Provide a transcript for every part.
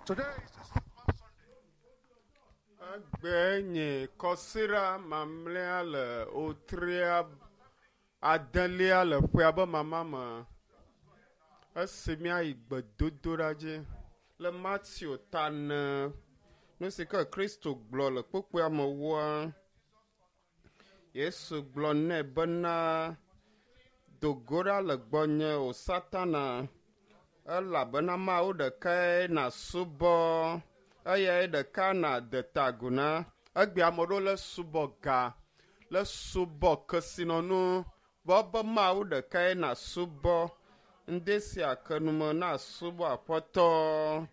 Today is the second Sunday. Egbe nye kɔsiɖa mamlɛa le wotria adelia le ƒea be mama me. Esi míayi gbedodoɖa dzi le Mateo ta ne nu si ke Kristo gblɔ le kpukpuia me woa, Yesu gblɔ nɛ bena, do go ɖa le gbɔnye o Satana, elabena Mawu ɖekae nàsubɔ eyae ɖeka nàde ta agu na. Egbea ame aɖewo le subɔ ga, le subɔ kesinɔnu, vɔ be Mawu ɖekae nàsubɔ. Ŋdi sia ke nume nasubɔ Aƒetɔ.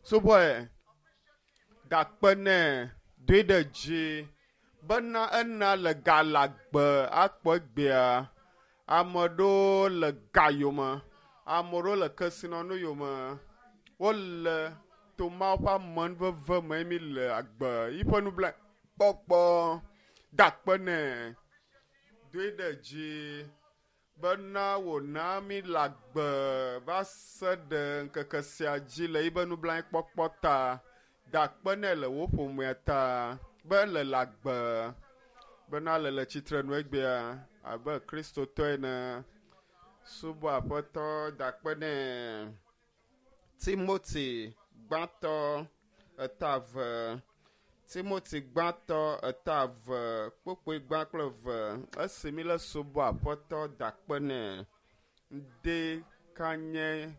Subɔe, gakpe nɛ, doe ɖe dzi bena ena le ga le agbe akpɔ egbea. Ame aɖewo le ga yome, ame aɖewo le kesinɔnu yome. Wole to Mawu ƒe amenuveve me mi le agbe yiƒe nublanuikpɔkpɔ da akpe nɛ, doe ɖe dzi bena wòna mi le agbe va se ɖe ŋkeke sia dzi le yiƒe nublanuikpɔkpɔ ta. Da akpe nɛ le wò ƒomea ta be ele le agbe bena le le tsitrenu egbea abe Kristotɔ ene. Subɔ Aƒetɔ, da akpe nɛ. Timoti gbãtɔ eta eve. Timoti gbãtɔ eta eve kpukpui gbã kple eve. Esi mi le subɔ Aƒetɔ da akpe nɛ. Ŋdi ka nye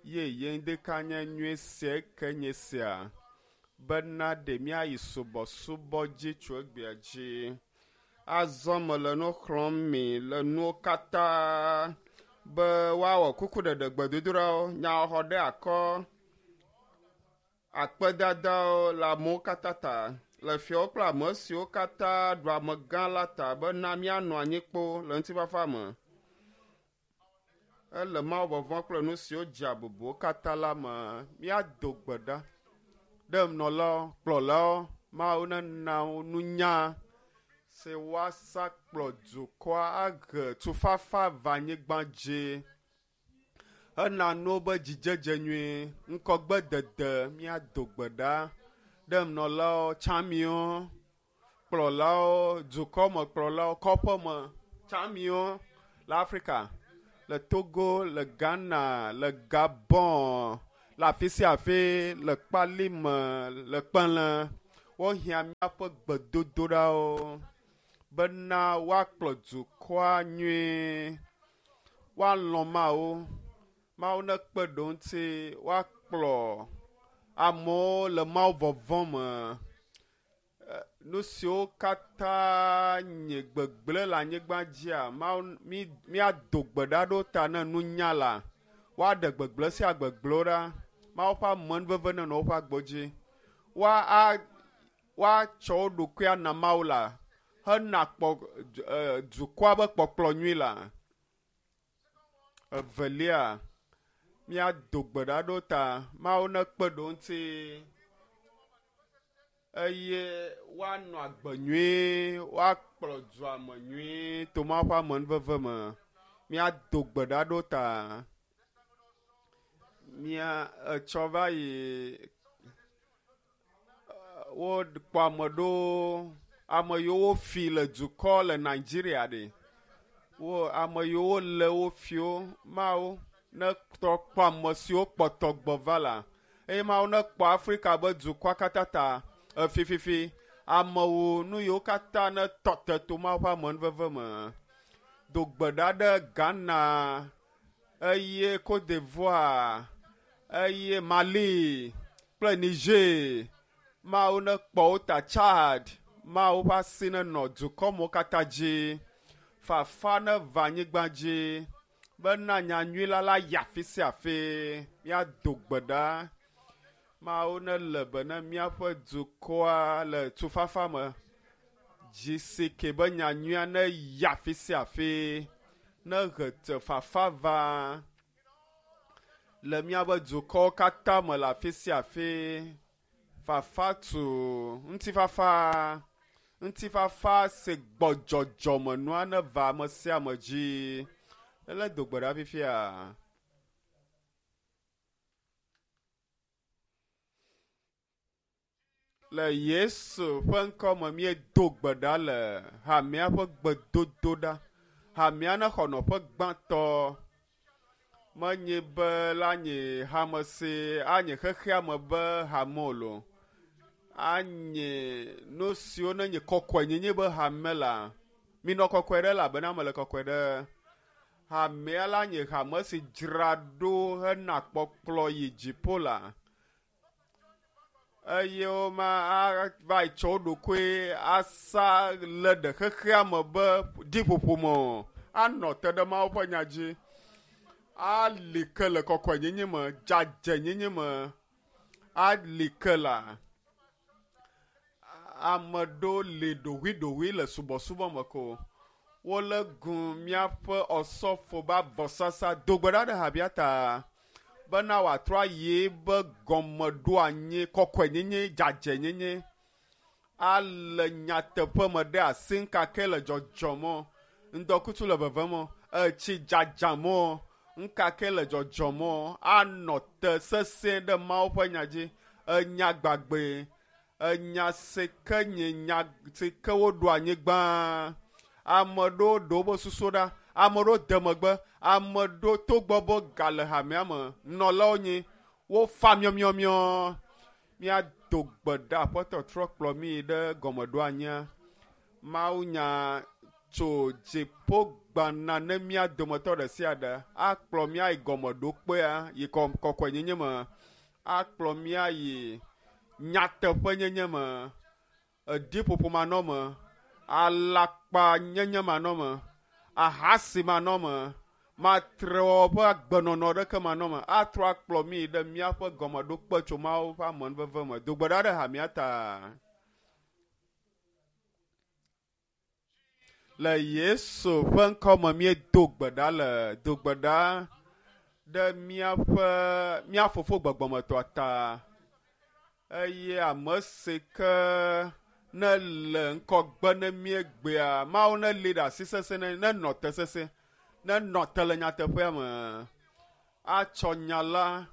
yeye ŋdi ka nye nyui sia ke nye sia bena ɖe míayi subɔsubɔ dzi tso egbea dzi. Azɔ mele nu xlɔ̃m mi le nuwo katã be woawɔ kukuɖeɖe gbedodoɖawo, nyaxɔxɔ ɖe akɔ, akpedadawo le amewo katã ta, le fiawo kple ame siwo katã ɖu amegã la ta bena míanɔ anyi kpoo le ŋutifafa me. Ele Mawu vɔvɔ̃ kple nu siwo dzea bubuwo katã la me. Míado gbe ɖa ɖe nɔlawo, kplɔlawo, Mawu nena wo nunya si woasa kplɔ dukɔa ahe tufafa va anyigba dzi. Ena nuwo be dzidzedze nyui, ŋkɔgbedede míado gbe ɖa ɖe nɔlawo, tsamiwo, kplɔlawo, dukɔmekplɔlawo, kɔƒeme, tsamiwo le Afrika, le Togo, le Ghana, le Gabon, le afi sia afi, le Kpalime, le Kpele. Wohiã míaƒe gbedodoɖawo bena woakplɔ dukɔa nyuie, woalɔ̃ Mawu. Mawu nekpe ɖe wo ŋuti woakplɔ amewo le Mawu vɔvɔ̃ me. Nu siwo katã nye gbegblẽ le anyigba dzia, Mawu mi míado gbe ɖa ɖo ta ne nunya la, woaɖe gbegblẽ sia gbegblẽwo ɖa. Mawu ƒe amenuveve nenɔ woƒe agbo dzi. Woa a woatsɔ wo ɖokui ana Mawu la hena kpɔ dukɔa be kpɔkplɔ nyui la. Evelia, míado gbe ɖa ɖo ta Mawu nekpe ɖe wo ŋuti eye woanɔ agbe nyui, woakplɔ dua me nyui to Mawu ƒe amenuveve me. Míado gbe ɖa ɖo ta. Mía etsɔ va yi wokpɔ ame ɖewo, ame yiwo wofi le dukɔ le Nigeria ɖe. Wo ame yiwo lé wo fiwo Mawu netrɔ kpɔ ame siwo kpɔtɔ gbɔ va la eye Mawu nekpɔ Afrika be dukɔa katã ta efififi. Amewo nu yiwo katã netɔ te to Mawu ƒe amenuveve me. Do gbe ɖa ɖe Ghana eye Cote d'Ivoire eye Mali kple Niger. Mawu nekpɔ wo ta Chad. Mawu ƒe asi nenɔ dukɔmewo katã dzi. Fafa neva anyigba dzi bena nyanyui la la yi afi sia afi. Míado gbe ɖa. Mawu nele be ne míaƒe dukɔa le tufafa me. Dzi si ke be nyanyuia neyi afi sia afi. Nehe te fafa va le míaƒe dukɔwo katã me le afi sia afi. Fafa tu ŋutifafa. Ŋutifafa si gbɔ dzɔdzɔmenua neva ame sia ame dzi. Ele do gbe ɖa fifia. Le Yesu ƒe ŋkɔ me míedo gbe ɖa le hamea ƒe gbedodoɖa. Hamea nexɔ nɔƒe gbãtɔ. Menye be la nye hame si anye xexea me be hame o loo. Anye nu siwo nenye kɔkɔenyenye be hame la. Minɔ kɔkɔe ɖe elabena mele kɔkɔe ɖe. Hamea la nye hame si dzra ɖo hena kpɔkplɔ yi dziƒo la. Eye woma ava yi tsɔ wo ɖokui asa le ɖe xexea me be ɖiƒoƒo me o. Anɔ te ɖe Mawu ƒe nya dzi. Ali ke le kɔkɔenyenye me, dzadzɛnyenye me. Ali ke la. Ame ɖewo li ɖoʋuiɖoʋui le subɔsubɔ me ko. Wolé gu míaƒe ɔsɔfo be avɔsasa do gbe ɖa ɖe habia ta bena wòatrɔ ayi be gɔmeɖoanyi, kɔkɔenyenye, dzadzɛnyenye ale nyateƒe me ɖe asi ŋkake le dzɔdzɔm o, ŋdɔkutsu le vevem o, etsi dzadzam o, ŋkake le dzɔdzɔm o, anɔ te sesẽ ɖe Mawu ƒe nya dzi. Enya gbagbe, enya si ke nye nya si ke woɖo anyigba. Ame ɖewo ɖe woƒe susu ɖa, ame ɖewo de megbe, ame ɖewo togbɔ be gale hamea me nɔlawo nyi wofa miɔmiɔmiɔ. Míado gbe ɖa Aƒetɔ trɔ kplɔ mí ɖe gɔmeɖoanyia. Mawunya tso dziƒo gbana ne mía dometɔ ɖe sia ɖe akplɔ mía yi gɔmeɖokpea yi kɔkɔenyenye me, akplɔ mía yi nyateƒenyenye me, eɖiƒoƒo manɔme, alakpanyenye manɔme, ahasi manɔme, matrewɔwɔ ƒe agbenɔnɔ ɖeke manɔme, atrɔ akplɔ mí ɖe míaƒe gɔmeɖokpe tso Mawu ƒe amenuveve me. Do gbe ɖa ɖe hamea ta. Le Yesu ƒe ŋkɔ me míedo gbe ɖa le do gbe ɖa ɖe míaƒe mía fofo gbɔgbɔmetɔa ta eye ame si ke ne le ŋkɔgbe ne míegbea Mawu ne li ɖe asi sesẽ ne nenɔ te sesẽ nenɔ te le nyateƒea me atsɔ nya la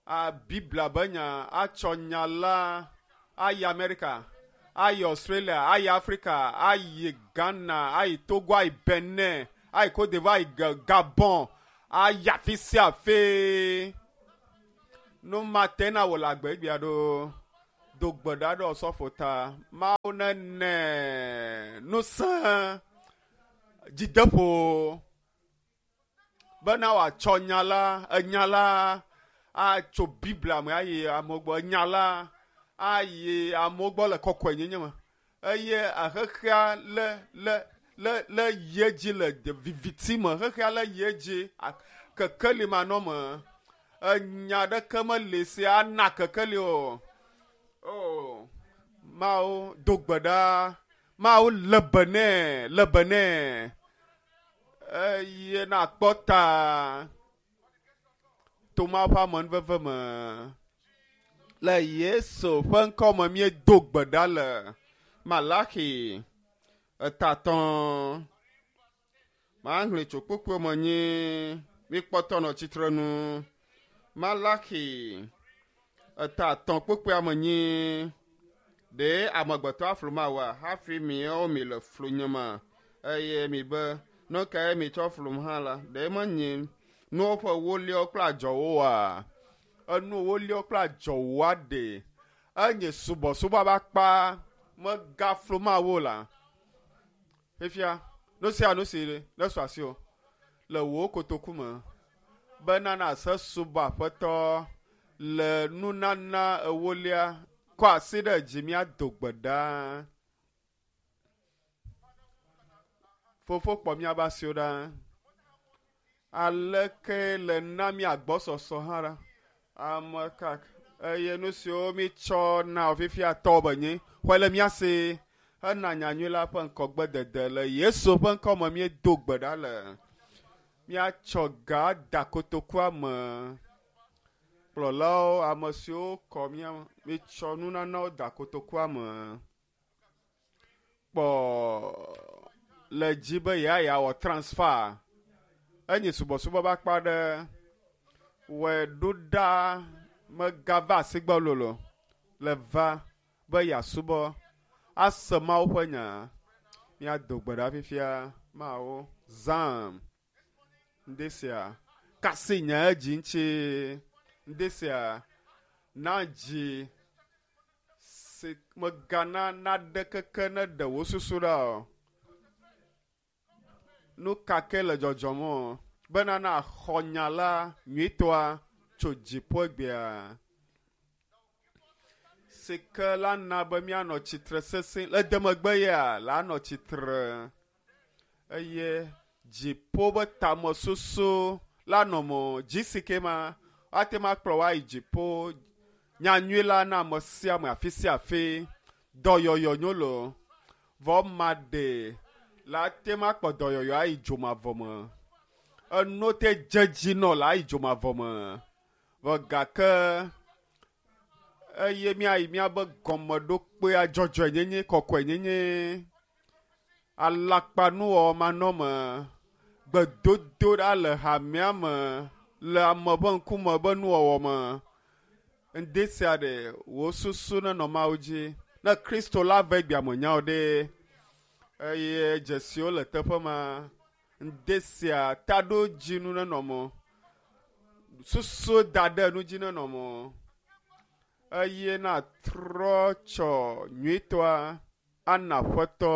a Biblia be nya atsɔ nya la ayi Amerika ayi Australia ayi Afrika ayi Ghana ayi Togo ayi Benin ayi Cote d'Ivoire ayi Gabon ayi afi sia afi. Nu ma te na wò le agbe egbea ɖo. Do gbe ɖa ɖe ɔsɔfo ta. Mawu nene ŋusẽ dzideƒo bena wòatsɔ nya la, enya la atso Biblia me ayi amewo gbɔ. Enya la ayi amewo gbɔ le kɔkɔenyenye me eye xexea le le le le yi edzi le viviti me. Xexea le yi edzi kekeli manɔme. Enya ɖeke meli si ana kekeli o. O Mawu do gbe ɖa. Mawu le be nɛ, le be nɛ eye nakpɔ ta to Mawu ƒe amenuveve me. Le Yesu ƒe ŋkɔ me míedo gbe ɖa le Malaxi etatɔ̃. Maxlẽ tso kpukpui me nyi míkpɔtɔ nɔ tsitre nu. Malaxi etatɔ̃ kpukpuia me nyi ɖe amegbetɔ aflu Mawua hafi miawo mi le flu nyema eye mi be nu kae mitsɔ flum hã la ɖe menye nuwo ƒe woliawo kple adzɔwo oa? Enu woliawo kple adzɔwoa ɖe enye subɔsubɔ ƒe akpa megaflu Mawu o la. Fifia nu sia nu si nesu asiwò le wò kotoku me bena nàse subɔ Aƒetɔ le nunana ewolia kɔ asi ɖe dzi míado gbe ɖa. Fofo kpɔ míaƒe asiwo ɖa. Aleke le na mía gbɔsɔsɔ hã ɖa. Ame ka eye nu siwo mítsɔ na wò fifia tɔ be nyi xɔe le mía si hena nyanyui la ƒe ŋkɔgbedede le Yesu ƒe ŋkɔ me míedo gbe ɖa le. Míatsɔ ga da kotokua me. Kplɔlawo, ame siwo kɔ mía mítsɔ nunanawo da kotokua me. Kpɔ le dzi be yeawɔ transfer. Enye subɔsubɔ ƒe akpa aɖe. Wɔe ɖo ɖa megava asi gbɔ lolo le va. be yeasubɔ ase Mawu ƒe nya. Míado gbe ɖa fifia. Mawu, zãm ŋdi sia. Kasi nye dzi ŋuti ŋdi sia. Na dzi si megana naɖe keke ne ɖe wò susu ɖa o. Nu ka ke le dzɔdzɔm o bena naxɔ nya la nyuitɔa tso dziƒo egbea si ke la na be míanɔ tsitre sesẽ le demegbe ya la nɔ tsitre eye dziƒo be tamesusu la nɔ mo dzi si ke ma ate ma kplɔ wa yi dziƒo nyanyui la na ame sia ame afi sia afi dɔyɔyɔ nyo lo vɔ ma ɖe la te ma kpɔ dɔyɔyɔ ayi dzomavɔ me enu te dze dzi nɔ la ayi dzomavɔ me vɔ gake eye míayi míabe gɔmeɖokpea dzɔdzɔenyenye kɔkɔenyenye alakpanuwɔwɔ manɔme gbedodo ɖa le hamea me le ame ƒe ŋkume be nuwɔwɔ me ŋdi sia ɖe wò susu nenɔ Mawu dzi ne Kristo la ve egbea me nyawo ɖe eye dzesiwo le teƒe ma ŋdi sia taɖodzinu nenɔ mo susu da ɖe nu dzi nenɔ mo eye natrɔ tsɔ nyuitɔa ana aƒetɔ.